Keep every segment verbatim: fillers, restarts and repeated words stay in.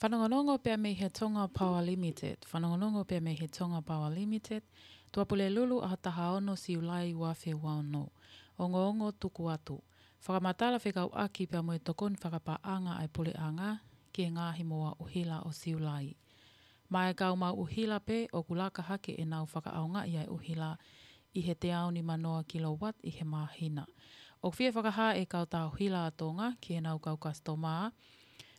Fanongonongo pea mei he Tonga Power Limited. Fanongonongo pea mei he Tonga Power Limited. Tuʻapulelulu, ʻaho taha ono Siulai ua afe ua ono. Ongoongo tuku atu. Fakamatala fekauʻaki pea mo e tokoni fakapaʻanga ʻa e puleʻanga ki he ngaahi moʻua ʻuhila ʻo Siulai. Maʻa e kau maʻu ʻuhila pē ʻoku laka hake ʻenau fakaʻaongaʻi ʻa e ʻuhila ʻi he teau nimanoa kilowatt ʻi he māhina. ʻOku fie fakahā ʻe he kautaha ʻuhila ʻa Tonga ki heʻenau kau kasitoma,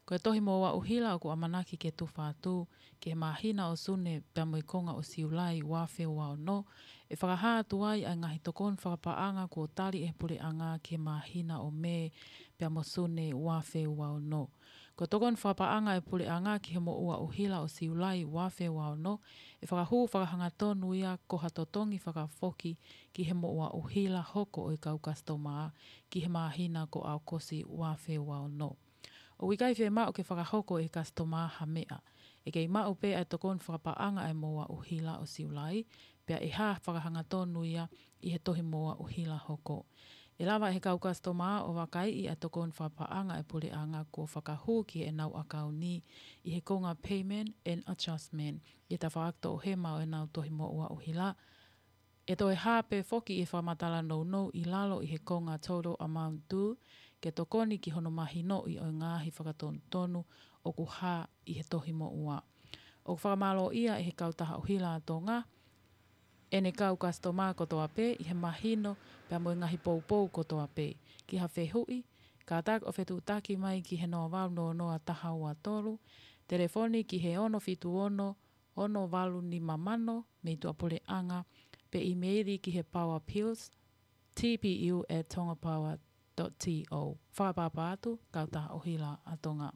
ko e tohi moʻua ʻuhila ʻoku ʻamanaki ke tufa atu ki he māhina ʻo Sune pea mo e konga ʻo Siulai ua afe ua ono, ʻe fakahā atu ai ʻa e ngaahi tokoni fakapaʻanga kuo tali ʻe he puleʻanga ki he māhina ʻo Mē pea mo Sune ua afe ua ono. Ko e tokoni fakapaʻanga ʻa e puleʻanga ki he moʻua ʻuhila ʻo Siulai ua afe ua ono, ʻe fakahū fakahangatonu ia ko ha totongi fakafoki ki he moʻua ʻuhila hoko ʻo e kau kasitoma ki he māhina ko ʻAokosi ua afe ua ono. ʻOku ʻikai fiemaʻu ke fakahoko ʻe he kasitoma ha meʻa. ʻE kei maʻu pē ʻa e tokoni fakapaʻanga ʻa e moʻua ʻuhila ʻo Siulai, pea ʻe hā fakahangatonu ia ʻi he tohi moʻua ʻuhila hoko. ʻE lava ʻe he kau kasitoma ʻo vakaiʻi ʻa e tokoni fakapaʻanga ʻa e puleʻanga kuo fakahū ki heʻenau ʻakauni ʻi he konga payment and adjustment ʻi he tafaʻaki toʻohema ʻo ʻenau tohi moʻua ʻuhila. ʻE toe hā pē foki ʻi he fakamatala nounou ʻi lalo ʻi he konga total amount due, ke tokoni ki hono mahinoʻi ʻo e ngaahi fakatonutonu ʻoku hā ʻi he tohi moʻua. ʻOku fakamālōʻia ʻe he kautaha ʻuhila ʻa Tonga ʻene kau kasitoma kotoa pē ʻi he mahino pea mo e ngaahi poupou kotoa pē. Ki ha fehuʻi, kātaki ʻo fetuʻutaki mai ki he noa valu noa noa taha ua tolu, telefoni ki he ono fitu ono, ono valu nima mano mei tuʻapuleʻanga, pe ʻīmeili ki he Power Pills, T P U at tongapower dot T O. Fakaʻapaʻapa atu, kautaha ʻuhila ʻa Tonga.